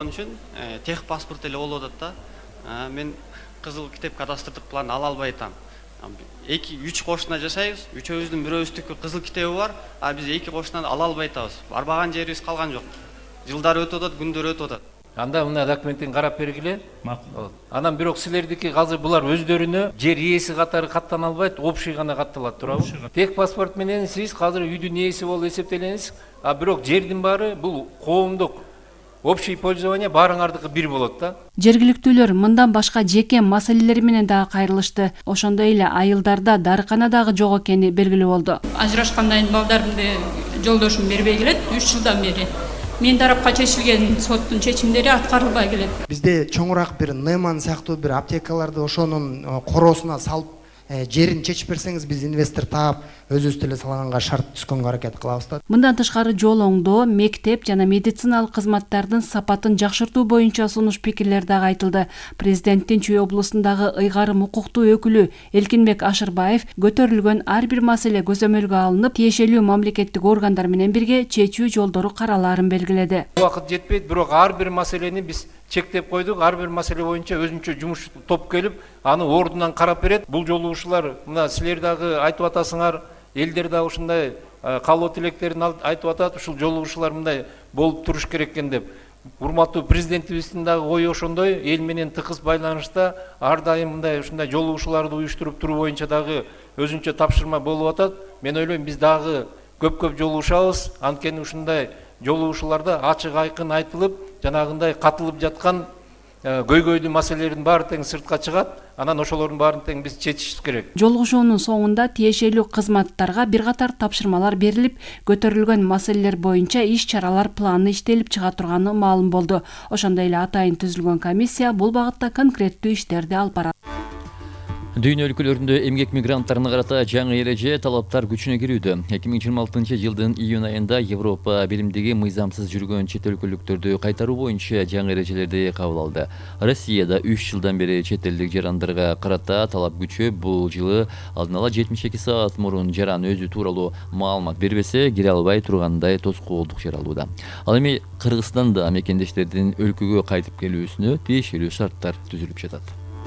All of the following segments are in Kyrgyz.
Onun için тех паспорт эле болуп атат да. Мен кызыл китеп кадастрдык план ала албай атам. 2-3 кошуна жашайбыз, үчөөбүздүн бирөөбүздүкү кызыл китеби бар, а биз 2 кошунан ала албай атабыз. Барбаган жерибиз калган жок. Жылдар өтүп атат, күндөр өтүп атат. Анда мына документин карап бергиле. Анан бирок силердики азыр булар өздөрүнө жер ээси катары каттана албайт, общий гана катталат туурабы? Тех паспорт менен сиз азыр үйдүн ээси болуп эсептелеңиз, а бирок жердин баары бул коомдук общий пользование баарыңардыкы бир болот да. Жергиликтүүлөр мындан башка жеке маселелер менен дагы кайрылышты. Ошондой эле айылдарда дарыкана дагы жок экени белгилүү болду. Ажырашкандан кийин балдарымды жолдошум бербей келет 3 жылдан бери. Мен тарапка чечилген соттун чечимдери аткарылбай келет. Бизде чоңураак бир Нейман сыяктуу бир аптекаларды ошонун короосуна салып жерин чечип берсеңиз, биз инвестор таап өзүбүз деле салганга шарт түзгөнгө аракет кылабыз да. Мындан тышкары жол оңдоо, мектеп жана медициналык кызматтардын сапатын жакшыртуу боюнча сунуш пикирлер дагы айтылды. Президенттин Чүй облусундагы ыйгарым укуктуу өкүлү Элкинбек Ашырбаев көтөрүлгөн ар бир маселе көзөмөлгө алынып, тиешелүү мамлекеттик органдар менен бирге чечүү жолдору каралаарын белгиледи. Убакыт жетпейт, бирок ар бир маселени биз чектеп койдук. Ар бир маселе боюнча өзүнчө жумуш топ келип, аны ордунан карап берет. Бул жолу ушулар мына силер дагы айтып атасыңар, элдер да ушундай каалоо тилектерин айтып атат, ушул жолугушуулар мындай болуп туруш керек экен деп. Урматтуу президентибиздин дагы ою ошондой, эл менен тыкыз байланышта ар дайым мындай ушундай жолугушууларды уюштуруп туруу боюнча дагы өзүнчө тапшырма болуп атат. Мен ойлойм, биз дагы көп жолугушабыз. Анткени ушундай жолугушууларда ачык айкын айтылып, жанагындай катылып жаткан көйгөйлүү маселелердин баары тең сыртка чыгат. Анан ошолордун баарын тең биз чечишибиз керек. Жолугушуунун соңунда тиешелүү кызматтарга бир катар тапшырмалар берилип, көтөрүлгөн маселелер боюнча иш-чаралар планы иштелип чыга турганы маалым болду. Ошондой эле атайын түзүлгөн комиссия бул багытта конкреттүү иштерди алып барат. Дүйнө өлкөлөрүндө эмгек мигранттарына карата жаңы эреже талаптар күчүнө кирүүдө. 2026-жылдын июнь айында Европа биримдиги мыйзамсыз жүргөн чет өлкөлүктөрдү кайтаруу боюнча жаңы эрежелерди кабыл алды. Россияда 3 жылдан бери чет элдик жарандарга карата талап күчөп, бул жылы алдын ала 72 саат мурун жаран өзү тууралуу маалымат бербесе, кире албай тургандай тоскоолдук жаралууда. Ал эми Кыргызстанда мекендештердин өлкөгө кайтып келүүсүнө тиешелүү шарттар түзүлүп жатат.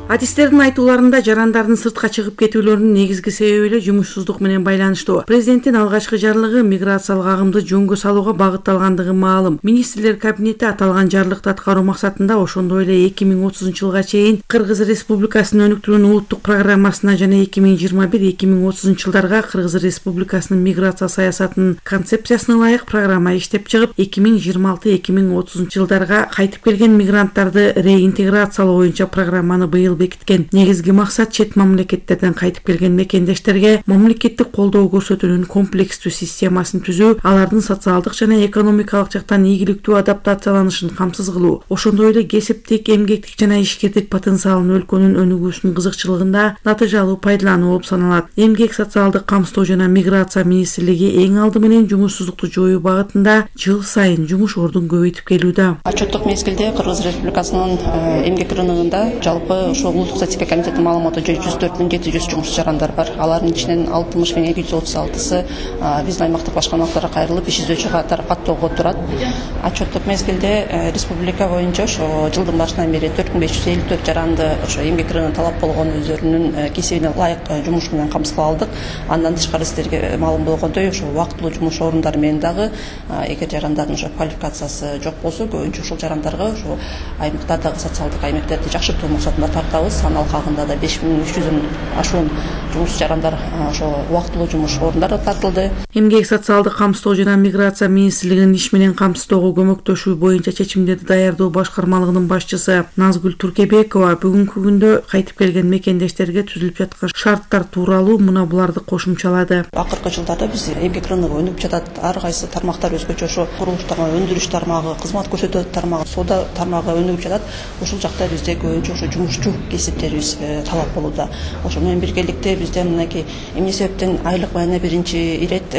Адистердин айтууларында жарандардын сыртка чыгып кетүүлөрүнүн негизги себеби эле жумушсуздук менен байланыштуу. Президенттин алгачкы жарлыгы миграциялык агымды жөнгө салууга багытталгандыгы маалым. Министрлер кабинети аталган жарлыкты аткаруу максатында ошондой эле 2030-жылга чейин Кыргыз Республикасынын өнүктүрүүнүн улуттук программасына жана 2021-2030 жылдарга Кыргыз Республикасынын миграция саясатынын концепциясына ылайык программа иштеп чыгып, 2026-2030 жылдарга кайтып келген мигранттарды реинтеграциялоо боюнча программаны быйыл бекиткен. Негизги максат чет мамлекеттерден кайтып келген мекендештерге мамлекеттик колдоо көрсөтүүнүн комплекстүү системасын түзүү, алардын социалдык жана экономикалык жактан ийгиликтүү адаптацияланышын камсыз кылуу. Ошондой эле кесиптик, эмгектик жана ишкердик потенциалын өлкөнүн өнүгүүсүнүн кызыкчылыгында натыйжалуу пайдалануу болуп саналат. Эмгек, социалдык камсыздоо жана миграция министрлиги эң алды менен жумушсуздукту жоюу багытында жыл сайын жумуш ордун көбөйтүп келүүдө. Отчеттук мезгилде Кыргыз Республикасынын эмгек рыногунда жалпы улуттук статистика комитетинин маалыматы 104.700 жумуш жарандар бар. Алардын ичинен 60.236-сы биздин аймактык башкармалыктарга кайрылып иш изөөчү катары каттоого турат. Отчеттук мезгилде республика боюнча ошо жылдын башынан бери 4554 жаранды ошо эмгек рыногуна талап болгон өздөрүнүн кесибине ылайык жумуш менен камсыздап алдык. Андан тышкары сиздерге маалым болгондой, ошо убактылуу жумуш орундары менен дагы эгер жарандардын ошо квалификациясы жок болсо, көбүнчө ушул жарандарга ошо аймактардагы социалдык аймектерди жакшыртуу максатында тартабыз. Аны алкагында да 5300-дөн ашуун жумуш жарандар ошо убактылуу жумуш орундары тартылды. Эмгек, социалдык камсыздоо жана миграция министрлигинин иш менен камсыздоого көмөктөшүү боюнча чечимдерди даярдоо башкармалыгынын башчысы Назгүл Туркебекова бүгүнкү күндө кайтып келген мекендештерге түзүлүп жаткан шарттар тууралуу мына буларды кошумчалады. Акыркы жылдарда биз эмгек рыногу өнүгүп жатат. Ар кайсы тармактар өзгөчө ошо курулуш тармагы, өндүрүш тармагы, кызмат көрсөтүү тармагы, соода тармагы өнүгүп жатат. Ушул жакта бизде көбүнчө ошо жумушчу жумушчу кесиптерибиз талап болууда. Ошо менен биргеликте бизде мынакей эмне себептен айлык баяна биринчи ирет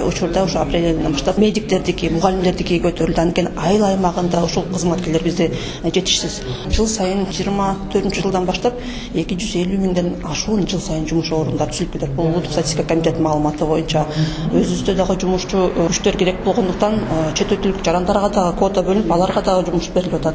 учурда ошо апрель айынан баштап медиктердики, мугалимдердики көтөрүлдү. Анткени айыл аймагында ушул кызматкерлер бизде жетишсиз. Жыл сайын 24-жылдан баштап 250 миңден ашуун жыл сайын жумуш орундары түзүлүп кетет. Бул улуттук статистика комитетинин маалыматы боюнча өзүбүздө дагы жумушчу күчтөр керек болгондуктан чет өлкөлүк жарандарга дагы квота бөлүнүп, аларга дагы жумуш берилип атат.